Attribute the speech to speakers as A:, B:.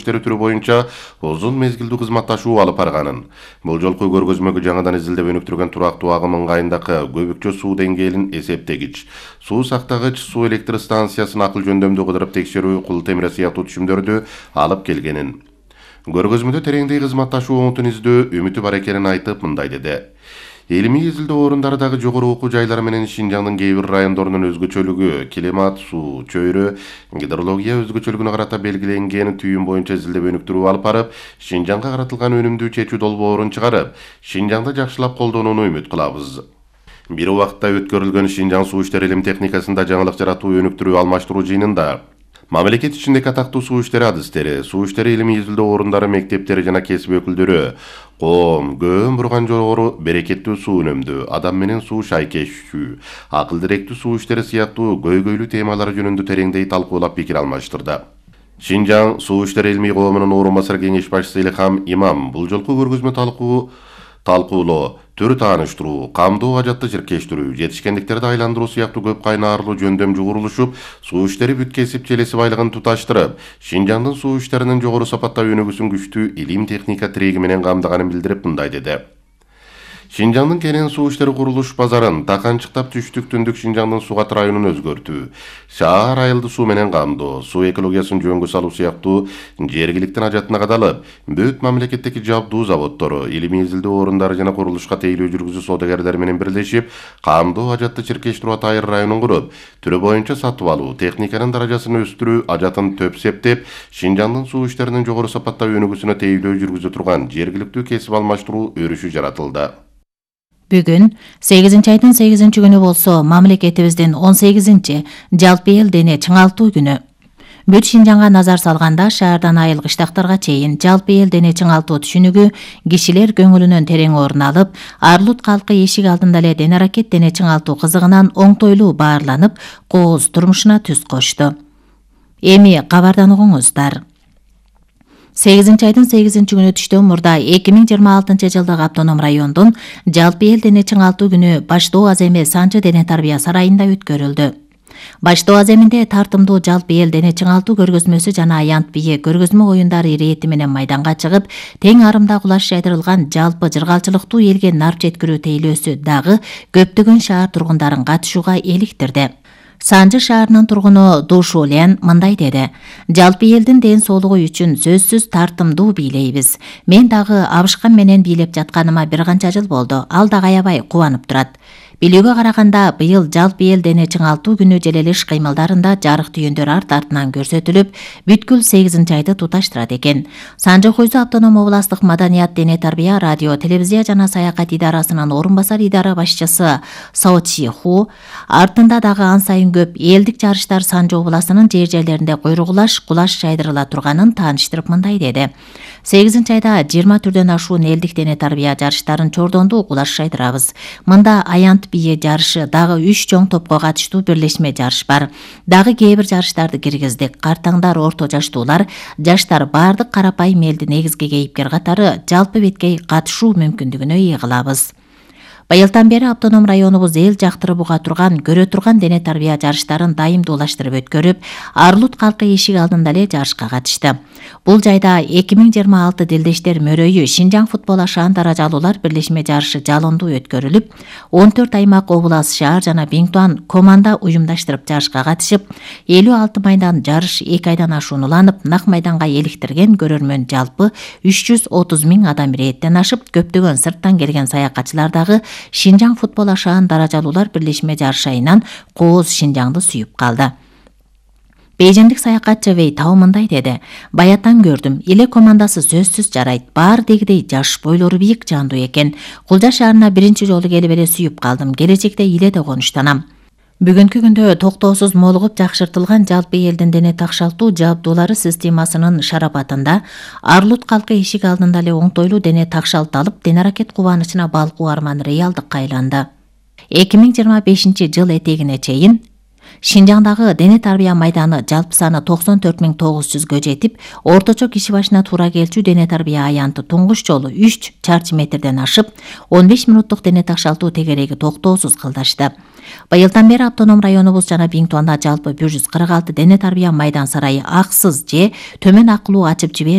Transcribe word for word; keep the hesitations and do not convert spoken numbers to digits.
A: иштери түрү боюнча узун мезгилдүү кызматташуу алып барганын. Бул жолку көргөзмөгө жаңыдан изилдеп өнүктүргөн турактуу агым ыңгайындагы көбүкчө суу деңгээлин эсептегич, суу сактагыч, суу электр станциясын акыл жөндөмдүү кыдырып текшерүү, кул темире сыяктуу түшүмдөрдү алып келгенин. Көргөзмөдө тереңдей кызматташуу оңутун издөө үмүтү бар экенин айтып, мындай деди. Илимий изилдөө орундарындагы жогору окуу жайлары менен Шинжаңдын кээ бир райондорунун өзгөчөлүгү, климат, суу, чөйрө, гидрология өзгөчөлүгүнө карата белгиленген түйүн боюнча изилдеп өнүктүрүү алып барып, Шинжаңга каратылган өнүмдүү чечүү долбоорун чыгарып, Шинжаңды жакшылап колдонууну үмүт кылабыз. Бир убакытта өткөрүлгөн Шинжаң суу иштери илим техникасында жаңылык жаратуу, өнүктүрүү, алмаштыруу жыйынында мамлекет ичиндеги атактуу суу иштери адистери, суу иштери илимий изилдөө орундары, мектептери жана кесип өкүлдөрү коом, көөм бурган жогору берекеттүү суу үнөмдүү, адам менен суу шайкешүү, акыл директүү суу иштери сыяктуу көйгөйлүү темалар жөнүндө тереңдей талкуулап пикир алмаштырды. Шинжаң суу иштери илимий коомунун орун басар кеңеш башчысы Илхам Имам бул жолку көргөзмө талкуу талкуулоо, төр тааныштыруу, камдоо, ажатты чиркештирүү, жетишкендиктерди айландыруу сыяктуу көп кайнаарлуу жөндөмдүү курулушуп, суу иштери бүт кесип челеси байлыгын туташтырып, Шинжаңдын суу иштеринин жогору сапатта өнүгүүсүн күчтүү илим техника тиреги менен камдаганын билдирип, мындай деди. Шинжаңдын кенен суу иштери курулуш базарын таканчыктап түштүк түндүк Шинжаңдын Сугат районун өзгөртүү, шаар айылды суу менен камдоо, суу экологиясын жөнгө салуу сыяктуу жергиликтин ажатына кадалып, бүт мамлекеттеги жабдуу заводдору, илимий изилдөө орундары жана курулушка тейлөө жүргүзүү соодагерлери менен бирлешип, камдоо, ажатты чиркештирүү атайыр районун куруп, түрү боюнча сатып алуу, техниканын даражасын өстүрүү, ажатын төп септеп, Шинжаңдын суу иштеринин жогору сапатта өнүгүүсүнө тейлөө жүргүзө турган жергиликтүү кесип алмаштыруу өрүшү жаратылды.
B: Бүгүн сегизинчи айдын сегизинчи күнү болсо, мамлекетибиздин он сегизинчи жалпы эл дене чыңалтуу күнү. Бүт Шинжаңга назар салганда, шаардан айыл кыштактарга чейин жалпы эл дене чыңалтуу түшүнүгү кишилер көңүлүнөн терең орун алып, Арлут калкы эшик алдында эле дене аракет дене чыңалтуу кызыгынан оңтойлуу баарланып, кооз турмушуна түз кошту. Эми кабардан угуңуздар. сегизинчи айдын сегизинчи күнү түштөн мурда эки миң жыйырма алтынчы жылдагы автоном райондун жалпы эл дене чыңалтуу күнү Баштоо Аземи Санжы дене тарбия сарайында өткөрүлдү. Баштоо Аземинде тартымдуу жалпы эл дене чыңалтуу көргөзмөсү жана аянт бие көргөзмө оюндары ирети менен майданга чыгып, тең арымда кулаш жайдырылган жалпы жыргалчылыктуу элге нар жеткирүү тейлөөсү дагы көптөгөн шаар тургундарын катышууга эликтирди. Санжы шаарынын тургуну Душулен мындай деди: жалпы элдин ден соолугу үчүн сөзсүз тартымдуу бийлейбиз. Мен дагы абышкан менен бийлеп жатканыма бир канча жыл болду. Ал дагы аябай кубанып турат. Билүүгө караганда, быйыл жалпы эл дене чыңалтуу күнү желелиш кыймылдарында жарык түйүндөр арт артынан көрсөтүлүп, бүткүл сегизинчи айды туташтырат экен. Санжы Хойзу автоном областык маданият, дене тарбия, радио, телевизия жана саякат идарасынын орун басар идара башчысы Сао Чи Ху артында дагы ан сайын көп элдик жарыштар Санжы областынын жер жерлеринде куйругулаш, кулаш жайдырыла турганын тааныштырып, мындай деди: сегизинчи айда жыйырма түрдөн ашуун элдик дене тарбия жарыштарын чордондуу кулаш жайдырабыз. Мында аянт бие жарышы, дагы үч чоң топко катыштуу бирлешме жарыш бар. Дагы кээ бир жарыштарды киргиздик. Картаңдар, орто жаштуулар, жаштар бардык карапайым элди негизги кейипкер катары жалпы беткей катышуу мүмкүндүгүнө ээ кылабыз. Быйылдан бери автоном районубуз эл жактырып уга турган, көрө турган дене тарбия жарыштарын дайымдуулаштырып өткөрүп, Арлут калкы эшик алдында эле жарышка катышты. Бул жайда эки миң жыйырма алты Дилдештер мөрөйү Шинжаң футбол ашаан даражалуулар бирлешме жарышы жалондуу өткөрүлүп, он төрт аймак, облас, шаар жана Биңтуан команда уюмдаштырып жарышка катышып, элүү алты майдан жарыш эки айдан ашуун уланып, нак майданга эликтирген көрөрмөн жалпы үч жүз отуз миң адам ирээттен ашып, көптөгөн сырттан келген саякатчылар дагы Шинжаң футбол ашаан даражалуулар бирлешме жарышайынан кооз Шинжаңды сүйүп калды. Бейжиндик саякатчы Вей Тау мындай деди: баяттан көрдүм, эле командасы сөзсүз жарайт, баары дегидей жаш, бойлору бийик, жандуу экен. Кулжа шаарына биринчи жолу келип эле сүйүп калдым, келечекте иледе конуштанам. Бүгүнкү күндө токтоосуз молугуп жакшыртылган жалпы элдин дене такшалтуу жабдуулары системасынын шарапатында Арлут калкы эшик алдында эле оңтойлуу дене такшалталып, дене аракет кубанычына балкуу арман реалдыкка айланды. эки миң жыйырма бешинчи жыл этегине чейин Шинжаңдагы дене тарбия майданы жалпы саны токсон төрт миң тогуз жүзгө жетип, орточо киши башына туура келчү дене тарбия аянты туңгуч жолу үч чарчы метрден ашып, он беш минуттук дене такшалтуу тегереги токтоосуз кылдашты. Быйылдан бери автоном районубуз жана Биңтуанда жалпы бир жүз кырк алты дене тарбия майдан сарайы аксыз же төмөн акылуу ачып жибер